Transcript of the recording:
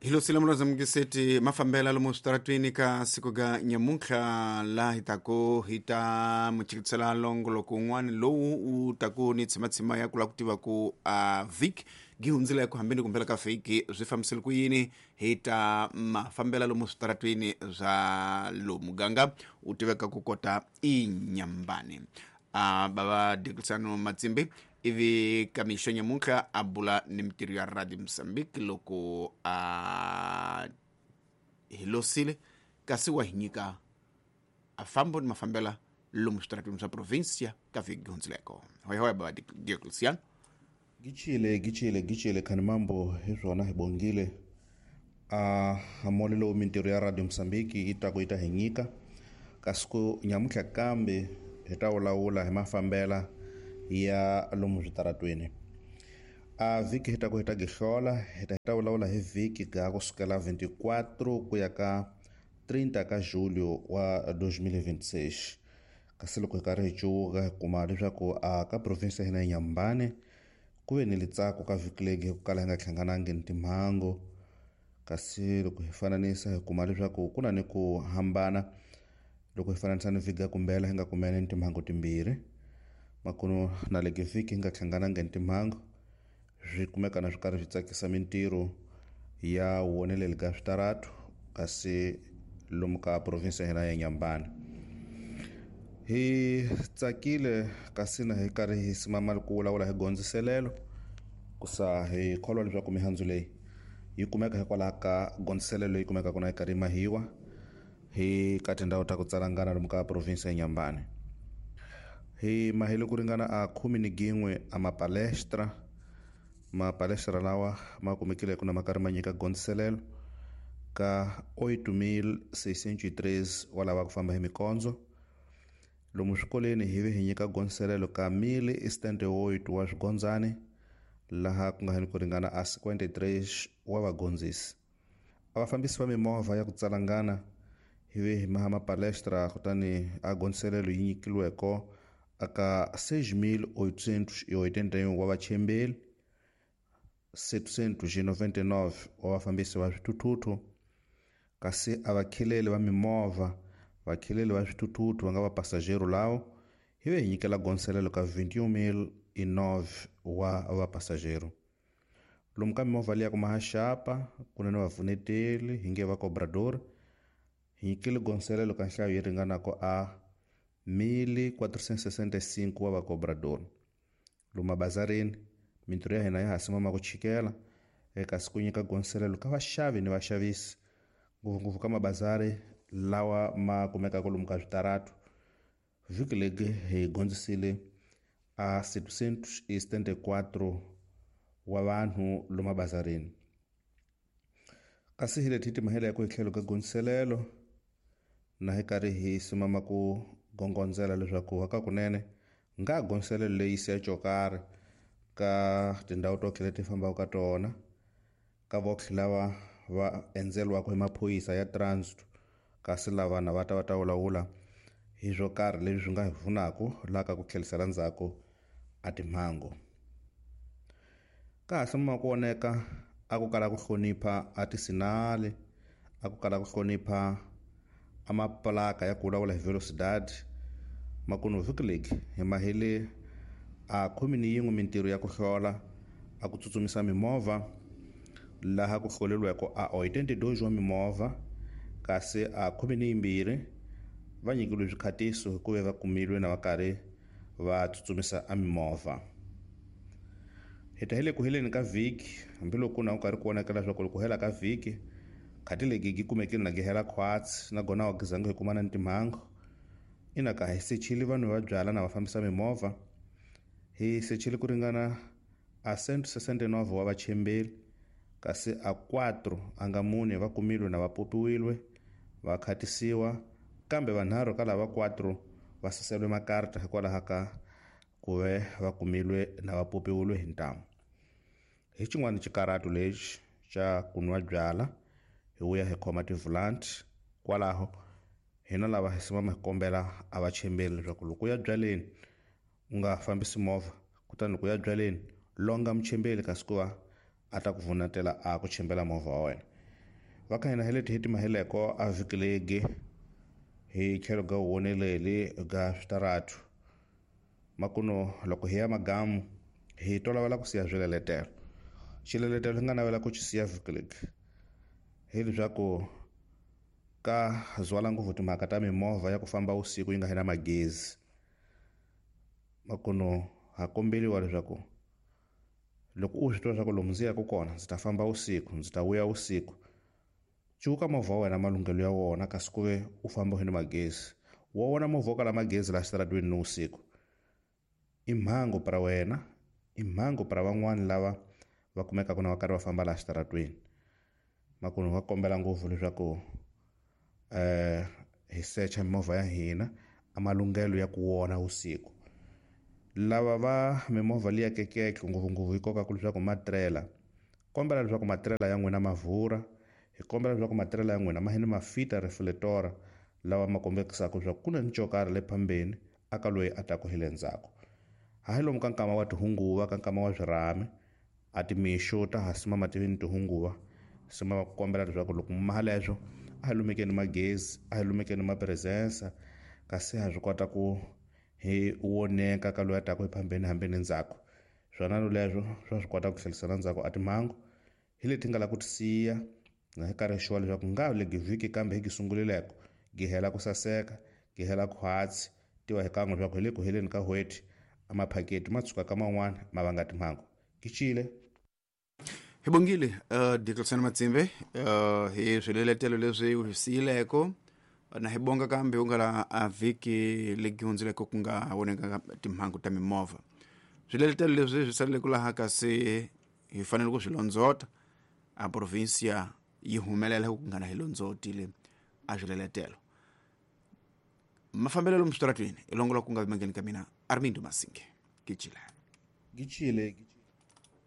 Hi losile mulozamukiseti mafambela lomu switaratwini ka siku ga nyamuntlha laha hi taku hi ta muchikisela longoloko wun'wana lowu wu taku ni tshimatshima ya ku lava ku tiva ku a vhiki gi hundzile ku hambeni kumbela ka vhiki swi fambisile ku yini hi ta mafambela lomu switaratwini swa lomu muganga wu tiveka ku kota inyambani. A bava Diklisano Matsimbi ivi ka mixo nyamuntlha a bula ni mitirho ya Radio Mozambique loko a hi losile kasi wa hi nyika a fambo ni mafambela lomu switaratwini swa provincia ka vhiki hundzileko. Hoya bava Diocleciano. Gichile gichile gichile khani mambo hi swona hi bongile a hamole lowu mintirho ya Radio Mozambique yi taku yi ta hi nyika kasi ku nyamuntlha kambe hi ta vulavula hi mafambela ya lomu switaratweni. A vhiki hi ta ku hi ta gihlola hi ta vulavula hi vhiki ga kusukela 24 ku ya ka 30 ka julho wa 2026. Kasi loko hi karhi hi cuka hi kuma leswaku a ka province ya hina ya Nyambane ku ve ni litsako ka vhiki legi ku kala hi nga hlanganangi ni timhangu. Kasi loko hi fananisa hi kuma leswaku ku na ni ku hambana loko hi fananisa ni vhiki ya kumbela hi nga kumene ni timhangu timbirhi, makunu na legi vhiki hi nga hlanganangi ni timhangu swi kumeka na swi karhi swi tsakisa mintirho ya woneleli ka switaratu kasi lomu ka province ya hina ya Nyambane. Hi tsakile kasi na hi karhi hi simama ku vulavula hi gondziselelo kusa hi kholwa leswaku mihandzu leyi yi kumeka hikwalaho ka gondziselelo leyi kumekaka na yi karhi yi mahiwa hi ka tindhawu ta ku tsalangana lomu ka province ya Nyambane. Hi mahile ku ringana a 11 a mapalestra. Mapalestra lawa ma kumekile ku na ma karhi ma nyika gondziselelo ka 8613 wa lava ku famba hi mikondzo. Lomu swikolweni hi ve hi nyika gondziselelo ka 1078 wa swigondzani laha ku nga hani ku ringana a 53 wa vagondzisi. A vafambisi va mimovha ya ku tsalangana hi ve hi maha mapalestra kutani a gondziselelo yi nyikilweko aka 6881 wa vachembeli, 799 wa vafambisi va swithuthuthu, kasi a vakhileli va mimovha, vakhileli va swithuthuthu va nga va pasajero lawo hi ve hi nyikela gondziselelo ka 21009 wa vapasajero. Lomu ka mimovha liya ku mahaxapa ku na ni vavuneteli hi nge va cobrador, hi nyikile gondziselelo ka nhlayo yi ringanaka a 1465 wa vacobrador. Lomu mabazarini mintirho ya hina ya ha simama ku chikela kasi ku nyika gondziselelo ka vaxavi ni vaxavisi ngopfungopfu ka mabazari lawa ma kumekaka lomu ka switaratu. Vhiki legi hi gondzisile a 774 wa vanhu lomu mabazarini. Kasi hi leti timahela ya ku hi tlhelo ka gondziselelo na hi karhi hi simama ku gongondzela leswaku hakakunene nga gondziselelo leyi siya xo karhi ka tindhawu to tlhela ti fambaka ka tona ka votlhe lava va endzeriwaka hi maphorisa ya transit, kasi lava na va ta va ta vulavula hi swo karhi leswi swi nga hi pfunaka laha ka ku tlherisela ndzhaku a timhangu. Ka ha simama ku voneka a ku kala ku hlonipha a tisinali, a ku kala ku hlonipha a maplaka ya ku vulavula hi velocidade. Makunu vhiki legi hi mahile a 11 mintirho ya ku hlola a ku tsutsumisa mimovha laha ku hloleriweke a 82 wa mimovha, kasi a 12 va nyikilwe swikhatiso hikuva va kumilwe na va karhi va tsutsumisa a mimovha. Hi ta hi le ku heleni ka vhiki, hambiloko na ku karhi ku vonakala leswaku loko hela ka vhiki khati legi gi kumekile na gi hela khwatsi na gona wa gizangi hi kumana ni timhangu. Ina ka hi sechile vanhu va byala na va fambisa mimovha, hi sechile ku ringana a 169 wa vachembeli, kasi a 4 a nga mune va kumilwe na va popiwilwe va khatisiwa, kambe vanharhu ka lava 4 va suselwe makarta hikwalaho ka ku ve va kumilwe na va popiwilwe hi ntamu. Hi xin'wana xikaratu lexi xa ku nwa byala hi vuya hi khoma tivulanti kwalaho hina lava hi simama hi kombela a vachembeli leswaku loko u ya byaleni u nga fambisi movha, kutani loko u ya byaleni longa muchembeli kasi ku va a ta ku vunatela a ku chembela movha wa wena. Va ka hina hi leti hi ti maheleko a vhiki legi hi tlhelo ga woneleli ga switaratu. Makuno loko hi ya magamu hi tolovela ku siya swileletelo. Xileletelo hi nga navela ku xi siya vhiki legi hi leswaku ka zwala ngopfu timhaka ta mimovha ya ku famba vusiku yi nga hi na magezi. Makuno ha komberiwa leswaku loko u swi tiva leswaku lomu ndzi yaka kona ndzi ta famba vusiku, ndzi ta vuya vusiku, cuka movha wa wena malunghelo ya wona kasi ku ve u famba u ni magezi. Wa wona movha wo kala magezi laha xitaratweni ni vusiku i mhangu para wena, i mhangu para van'wani lava va kumekaka na va karhi va famba laha xitaratweni. Makuno va kombela ngopfu leswaku hi secha mimovha ya hina a malunghelo ya ku wona vusiku. Lava va mimovha liya kekeke ngopfungopfu yi kokaka leswaku matirela, kombela leswaku matirela ya n'wina ma vhura, hi kombela leswaku matirela ya n'wina ma hi ni mafita reflector lawa ma kombekisaka leswaku ku na ni cokari le phambeni aka loyi a taku hi le ndzhaku. Hayi lomu ka nkama wa tihunguva, ka nkama wa swirhami, a timixo ta ha simama ti vi ni tihunguva, simama ku kombela leswaku loko mi maha leswo a hi lumekeni magezi, a hi lumekeni mapresensa, kasi ha swi kota ku hi woneka ka loyi a taku hi phambeni hambi ni ndzhaku. Swona leswo swa swi kota ku tlhelisela ndzhaku a timhangu hi leti nga la ku ti siya na hi karhi xuwa leswaku nga legi vhiki kambe hi gi sungulileko gi hela ku saseka, gi hela khwatsi, tiva hi kan'we leswaku hi le ku heleni ka n'hweti a maphaketi ma tshuka ka man'wana ma vanga timhangu. Ki cile. Hi bongile Dickelson Matsimbe hi swileletelo leswi u swi siyileko na hi bonga kambe u nga la a vhiki legi hundzileko ku nga voneka timhangu ta mimovha. Swileletelo leswi swi saleleke laha kasi hi fanele ku swi londzota a provincia yi humelela ku nga na hi londzotile a swileletelo. Mafambelelo miswitaratweni i longola ku nga vimangeni ka mina Armindo Masinge. Gicile. Gicile.